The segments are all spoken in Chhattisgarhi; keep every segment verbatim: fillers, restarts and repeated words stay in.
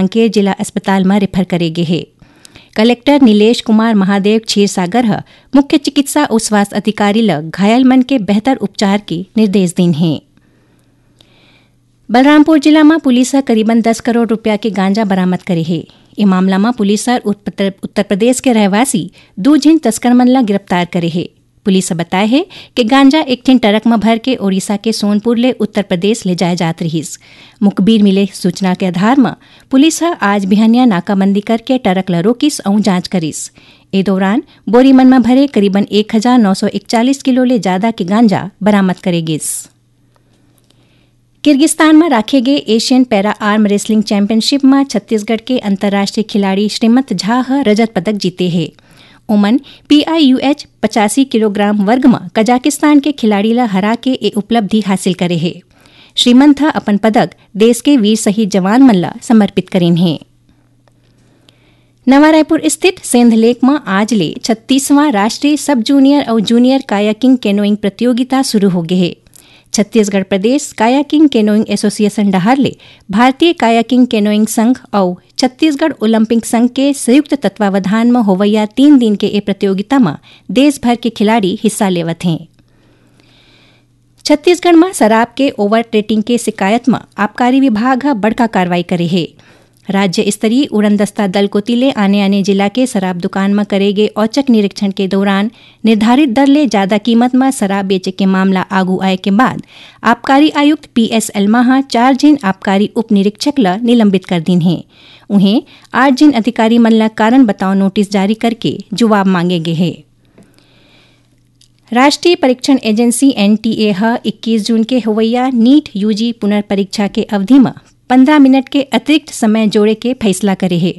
कांकेर जिला अस्पताल म रेफर करे गे हे। कलेक्टर नीलेश कुमार महादेव क्षीरसागर ह मुख्य चिकित्सा अउ स्वास्थ्य अधिकारी ल घायल मन के बेहतर उपचार के निर्देश दीन हे। बलरामपुर जिला म पुलिस ह करीबन दस करोड़ रुपया के गांजा बरामद करे हे। ए मामला म पुलिस ह उत्तर, उत्तर प्रदेश के रहवासी दू झिन तस्कर मन ल गिरफ्तार करे हे। पुलिस ह बताए हे कि गांजा एक ठिन ट्रक म भर के ओडिशा के सोनपुर ले उत्तर प्रदेश ले जाए जात रिहिस। मुखबिर मिले सूचना के आधार म पुलिस ह आज बिहनिया नाकाबंदी करके ट्रक ल रोकिस अउ जांच करिस। ए दौरान बोरी मन म भरे करीबन एक हजार नौ सौ इकतालीस किलो ले जादा के गांजा बरामद करे गिस। किर्गिस्तान म राखे गे एशियन पैरा आर्म रेसलिंग चैंपियनशिप म छत्तीसगढ़ के अंतर्राष्ट्रीय खिलाड़ी श्रीमंत झा ह रजत पदक जीते हे। ओमन पीआईयूएच पचासी किलोग्राम वर्ग म कजाकिस्तान के खिलाड़ी ल हरा के ए उपलब्धि हासिल करे हे। श्रीमंत ह अपन पदक देश के वीर शहीद जवान मन ल समर्पित करिन हे। नवा रायपुर स्थित सेंध लेक म आज ले छत्तीसवां राष्ट्रीय सब जूनियर अउ जूनियर कायाकिंग कैनोइंग प्रतियोगिता शुरू हो गे हे। छत्तीसगढ़ प्रदेश कायाकिंग कैनोइंग एसोसिएशन डहार ले भारतीय कायाकिंग कैनोइंग संघ अउ छत्तीसगढ़ ओलंपिक संघ के संयुक्त तत्वावधान म होवइया तीन दिन के ए प्रतियोगिता म देश भर के खिलाड़ी हिस्सा लेवत हें। छत्तीसगढ़ म शराब के ओवर रेटिंग के शिकायत म आबकारी विभाग ह बड़का कार्रवाई करे हे। राज्य स्तरीय उड़नदस्ता दल कोति ले आने-आने जिला के शराब दुकान म करे गे औचक निरीक्षण के दौरान निर्धारित दर ले जादा कीमत म शराब बेचे के मामला आगू आए के बाद आबकारी आयुक्त पीएस एल्मा ह चार झिन आबकारी उप निरीक्षक ल निलंबित कर दीन हे। उहें, आठ झिन अधिकारी मन ल कारण बताओ नोटिस जारी करके जुवाब मांगे गे हे। राष्ट्रीय परीक्षण एजेंसी एनटीए ह इक्कीस जून के होवइया नीट यूजी पुनर्परीक्षा के अवधि म पंद्रह मिनट के अतिरिक्त समय जोड़े के फैसला करे हे।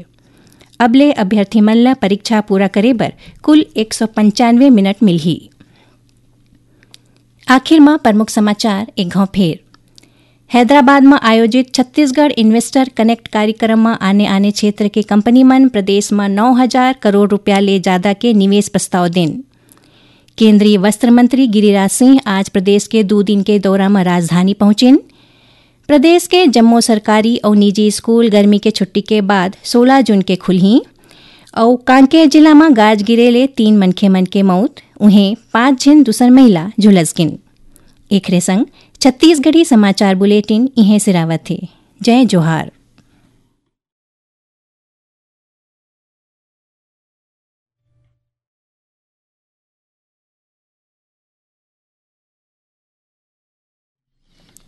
अब ले अभ्यर्थी मन ल परीक्षा पूरा करे बर कुल एक सौ पंचानवे मिनट मिलही। आखिर म प्रमुख समाचार एक घाव फेर। हैदराबाद म आयोजित छत्तीसगढ़ इन्वेस्टर कनेक्ट कार्यक्रम म आने-आने क्षेत्र के कंपनी मन प्रदेश म नौ हजार करोड़ रुपया ले जादा के निवेश प्रस्ताव देन। केंद्रीय वस्त्र मंत्री गिरिराज सिंह आज प्रदेश के दू दिन के दौरा म राजधानी पहुंचिन। प्रदेश के जम्मो सरकारी अउ निजी स्कूल गर्मी के छुट्टी के बाद सोलह जून के खुलही। अउ कांकेर जिला म गाज गिरे ले तीन मनखे मन के मउत, उहें पांच झिन दूसर महिला झुलस गिन। एखरे संग छत्तीसगढ़ी समाचार बुलेटिन इहें सिरावत हे। जय जोहार।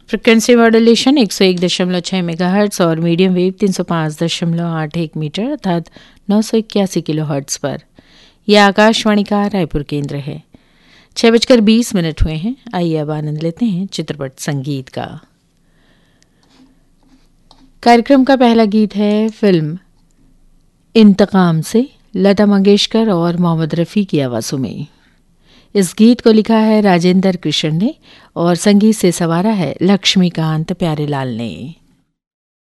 फ्रिक्वेंसी मॉड्यूलेशन एक सौ एक दशमलव छह मेगाहर्ट्ज और मीडियम वेव तीन सौ पाँच दशमलव आठ एक मीटर अर्थात नौ सौ इक्यासी किलोहर्ट्ज पर। यह आकाशवाणी का रायपुर केंद्र है। छः बजकर बीस मिनट हुए हैं। आइए, अब आनंद लेते हैं चित्रपट संगीत का। कार्यक्रम का पहला गीत है फिल्म इंतकाम से, लता मंगेशकर और मोहम्मद रफ़ी की आवाज़ों में। इस गीत को लिखा है राजेंद्र कृष्ण ने और संगीत से संवारा है लक्ष्मीकांत प्यारेलाल ने।